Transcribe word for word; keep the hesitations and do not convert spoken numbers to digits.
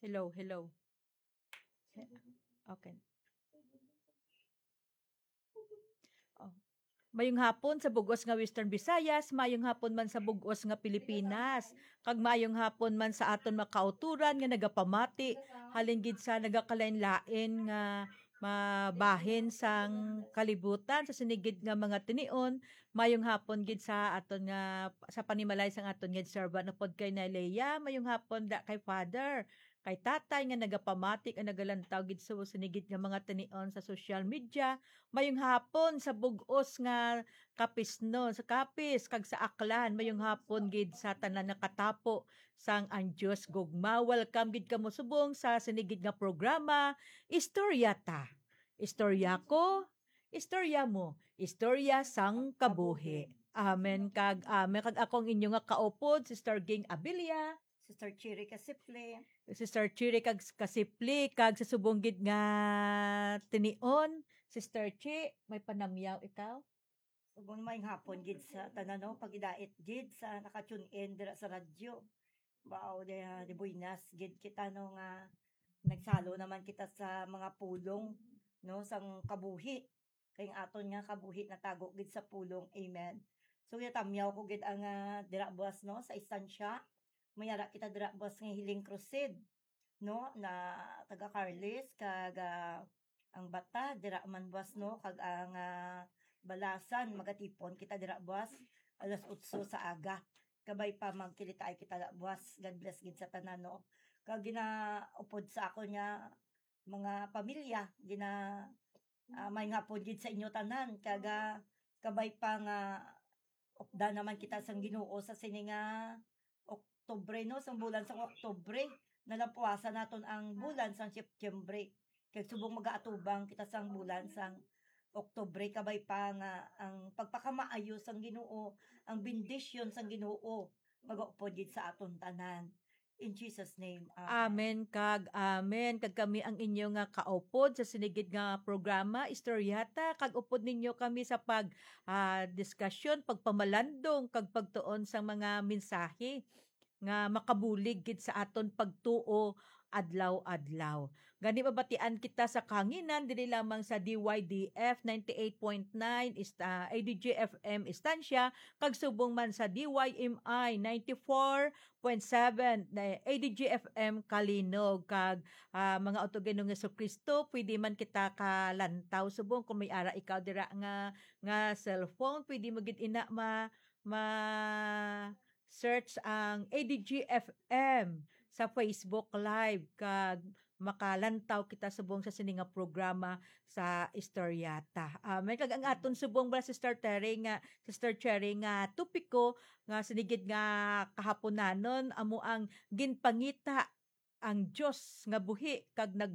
Hello, hello. Okay. Oh. Mayong hapon sa bug-os nga Western Visayas, mayong hapon man sa bug-os nga Pilipinas, kag mayong hapon man sa aton mga kauturan nga nagapamati halin gid sa nagakalain-lain nga mabahin sang kalibutan sa sini gid nga mga tinion. Mayong hapon gid sa aton nga, sa panimalay sang aton nga servant upod kay Nalea. Mayong hapon da kay Father, kay Tatay nga nagapamati kag nagalantaw gid sa sini gid nga mga tinion sa social media. Mayong hapon sa bug-os nga Capiz, no, sa Capiz kag sa Aklan. Mayong hapon gid sa tanan nga katapo sang ang Dios gugma. Welcome gid kamo subong sa sini gid nga programa, Istorya Ta. Istorya ko, istorya mo, istorya sang kabuhi. Amen kag amen. Kag ako ang inyo nga kaupod, Sister Ging Abilia. Sister Chiri Kasipli. Sister Chiri kag Kasipli, kag sa subong gid nga tinion, Sister Chi, may panamyaw ikaw? Subong may hapon gid sa tanan, no, pagidait gid sa naka-tune in dira sa radyo. Wow, de, de buenas gid kita, no, nga nagsalo naman kita sa mga pulong, no, sang kabuhi. Kay ang aton nga kabuhi natago gid sa pulong. Amen. So, yatamyaw ko gid ang, ah, dira buwas, no, sa Estancia. May ara kita dira buwas nga Healing Crusade, no, na taga Carles, kag, ah, ang Bata, dira man buwas, no, kag ang, ah, Balasan, magatipon kita dira buwas alas otso sa aga. Kabay pa magkilitaay kita dira buwas. God bless gid sa tanan, no. Kag ginaupod sa akon nga mga pamilya, gina-, ah, may nga pod gid sa inyo tanan, kag, ah, kabay pa nga upda naman kita sang Ginoo sa sini nga Oktubre, no, sang bulan sang Oktubre, nalampuasan naton ang bulan sang Setyembre. Kag subong magaatubang kita sang bulan sang Oktubre, kabay pa nga ang pagpakamaayo sang Ginoo, ang bendisyon sang Ginoo, magaupod gid sa aton tanan. In Jesus' name, amen. Amen kag amen. Kag kami ang inyo nga kaupod sa sini gid nga programa, Istorya Ta, kag upod ninyo kami sa pag, ah, diskasyon, pagpamalandong, kag pagtuon sang mga mensahe nga makabulig gid sa aton pagtuo adlaw-adlaw. Gani mabatian kita sa kahanginan dili lamang sa D Y D F ninety-eight point nine ist-, ah, A D G F M Estancia, kag subong man sa D Y M I ninety-four point seven na A D G F M Kalinog. Kag, ah, mga utod kay Ginoong Jesu-Cristo, pwede man kita kalantaw subong kung may ara ikaw dira nga, nga cellphone, pwede mo gid ina ma-, ma-search ang A D G F M sa Facebook Live, kag makalantaw kita subong sa sini nga programa sa Istorya Ta. Amen. Kag ang aton subong ba, Sister Terry, nga, Sister Cherry, nga topiko nga sini gid nga kahaponanon amo ang ginpangita ang Dios nga buhi kag nag-